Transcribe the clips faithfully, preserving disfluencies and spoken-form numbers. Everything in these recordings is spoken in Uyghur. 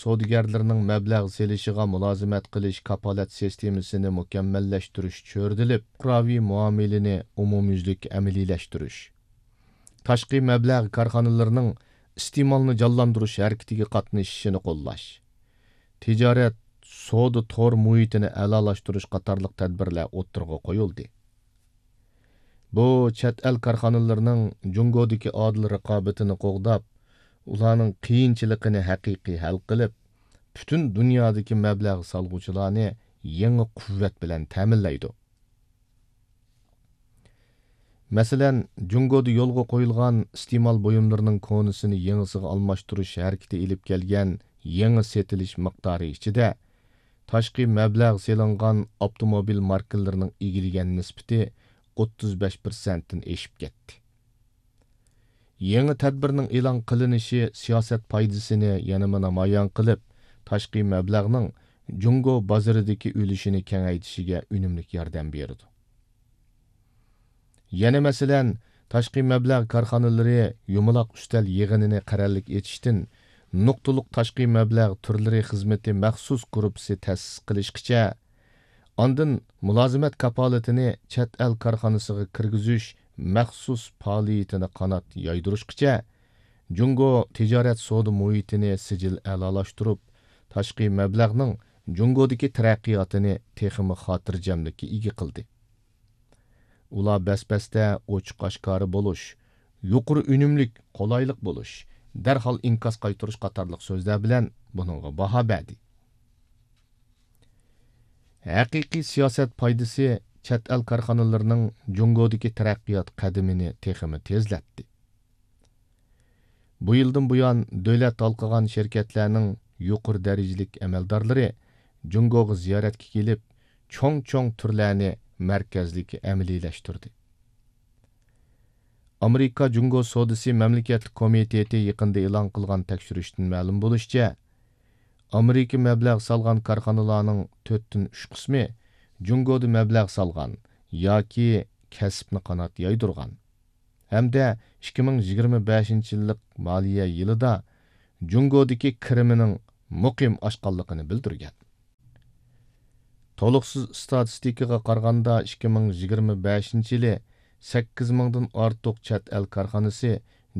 سودىگەرلىرىنىڭ مەبلەغ سېلىشىغا مۇلازىمەت قىلىش كاپالەت سىستېمىسىنى مۇكەممەللەشتۈرۈش چۆرىدىلىپ، پۇقراۋى مۇئامىلىنى ئومۇميۈزلۈك ئەمەلىيلەشتۈرۈش، تاشقى مەبلەغ كارخانىلىرىنىڭ ئىستېمالنى جانلاندۇرۇش ھەرىكىتىگە قاتنىشىشىنى قوللاش، تىجارەت، سودا تور مۇھىتىنى ئەلالاشتۇرۇش قاتارلىق تەدبىرلەر ئوتتۇرىغا قويۇلدى. بۇ چەت ئەل كارخانىلىرىنىڭ جۇڭگودىكى ئادىل رىقابىتىنى قوغداپ، ئۇلارنىڭ قىيىنچىلىقىنى ھەقىقىي ھەل قىلىپ، پۈتۈن دۇنيادىكى مەبلەغ سالغۇچىلارنى يېڭى قۇۋۋەت بىلەن تەمىنلەيدۇ. مەسىلەن، جۇڭگودا يولغا قويۇلغان ئىستېمال بۇيۇملىرىنىڭ كونىسىنى يېڭىسىغا ئالماشتۇرۇش ھەرىكىتى ئېلىپ كەلگەن يېڭى سېتىلىش مىقدارى ئىچىدە، تاشقى مەبلەغ سېلىنغان ئاپتوموبىل ماركىلىرىنىڭ ئىگىلىگەن نىسبىتى ئوتتۇز بەش پىرسەنتتىن ئېشىپ كەتتى. يېڭى تەدبىرنىڭ ئېلان قىلىنىشى سىياسەت پايدىسىنى يەنىمۇ نامايان قىلىپ، تاشقى مەبلەغنىڭ جۇڭگو بازىرىدىكى ئۈلۈشىنى كېڭەيتىشىگە ئۈنۈملۈك ياردەم بېرىدۇ. يەنە مەسىلەن، تاشقى مەبلەغ كارخانىلىرى يۇمىلاق ئۈستەل يىغىنىنى قەرەللىك ئېچىشتىن نۇقتىلىق تاشقى مەبلەغ تۈرلىرى خىزمىتى مەخسۇس گۇرۇپپىسى تەسىس قىلىشقىچە، ئاندىن مۇلازىمەت كاپالىتىنى چەت ئەل كارخانىسىغا كىرگۈزۈش مەخسۇس پائالىيىتىنى قانات يايدۇرۇشقىچە، جۇڭگو تىجارەت سودا مۇھىتىنى سىجىل ئەلالاشتۇرۇپ، تاشقى مەبلەغنىڭ جۇڭگودىكى تەرەققىياتىنى تېخىمۇ خاتىرجەملىككە ئىگە قىلدى. ئۇلار بەس-بەستە ئوچۇق-ئاشكارا بولۇش، يۇقىرى ئۈنۈملۈك، قولايلىق بولۇش، دەرھال ئىنكاس قايتۇرۇش قاتارلىق سۆزلەر بىلەن بۇنىڭغا باھا بەردى. ھەقىقىي سىياسەت پايدىسى چەت ئەل كارخانىلىرىنىڭ جۇڭگودىكى تەرەققىيات قەدىمىنى تېخىمۇ تېزلەتتى. بۇ يىلدىن بۇيان، دۆلەت ھالقىغان شىركەتلەرنىڭ يۇقىرى دەرىجىلىك ئەمەلدارلىرى جۇڭگوغا زىيارەتكە كېلىپ، چوڭ-چوڭ تۈرلەرنى مەركەزلىك ئەمەلىيلەشتۈردى. ئامېرىكا جۇڭگو سودىسى مەملىكەتلىك كومىتېتى يېقىندا ئېلان قىلغان تەكشۈرۈشتىن مەلۇم بولۇشىچە، ئامېرىكا مەبلەغ سالغان كارخانىلارنىڭ تۆتتىن ئۈچ قىسمى جۇڭگودا مەبلەغ سالغان ياكى كەسىپنى قانات يايدۇرغان ھەمدە ئىككى مىڭ يىگىرمە بەشىنچى يىللىق مالىيە يىلىدا جۇڭگودىكى كىرىمىنىڭ مۇقىم ئاشقانلىقىنى بىلدۈرگەن. تولۇقسىز ئىستاتىستىكىغا قارىغاندا، ئىككى مىڭ يىگىرمە بەشىنچى يىلى سەككىز مىڭدىن ئارتۇق چەت ئەل كارخانىسى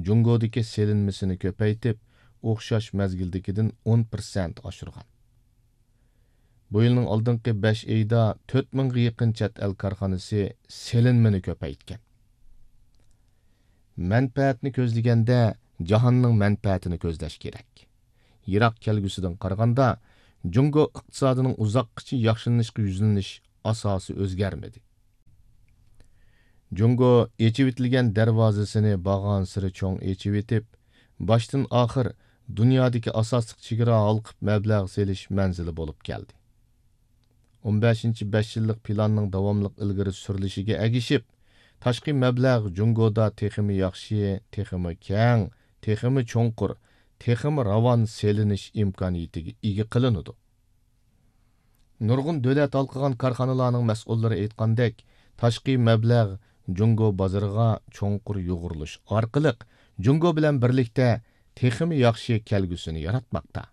جۇڭگودىكى سېلىنمىسىنى كۆپەيتىپ، ئوخشاش مەزگىلدىكىدىن ئون پىرسەنت ئاشۇرغان. بۇ يىلنىڭ ئالدىنقى بەش ئېيىدا تۆت مىڭغا يېقىن چەت ئەل كارخانىسى سېلىنمىنى كۆپەيتكەن. مەنپەئەتنى كۆزلىگەندە، جاھاننىڭ مەنپەئەتىنى كۆزلەش كېرەك. يىراق كەلگۈسىدىن قارىغاندا، جۇڭگو ئىقتىسادىنىڭ ئۇزاققىچە ياخشىلىنىشقا يۈزلىنىش ئاساسى ئۆزگەرمىدى. جۇڭگو ئېچىۋېتىلگەن دەرۋازىسىنى بارغانسېرى چوڭ ئېچىۋېتىپ، باشتىن ئاخىر دۇنيادىكى ئاساسلىق چېگرا ھالقىپ مەبلەغ سېلىش مەنزىلى بولۇپ كەلدى. ئون بەشىنچى بەش يىللىق پىلاننىڭ داۋاملىق ئىلگىرى سۈرۈلۈشىگە ئەگىشىپ، تاشقى مەبلەغ جۇڭگودا تېخىمۇ ياخشى، تېخىمۇ كەڭ، تېخىمۇ چوڭقۇر، تېخىمۇ راۋان سېلىنىش ئىمكانىيىتىگە ئىگە قىلىنىدۇ. نۇرغۇن دۆلەت ھالقىغان كارخانىلارنىڭ مەسئۇللىرى ئېيتقاندەك، تاشقى مەبلەغ جۇڭگو بازىرىغا چوڭقۇر يۇغۇرۇلۇش ئارقىلىق، جۇڭگو بىلەن بىرلىكتە تېخىمۇ ياخشى كەلگۈسىنى ياراتماقتا.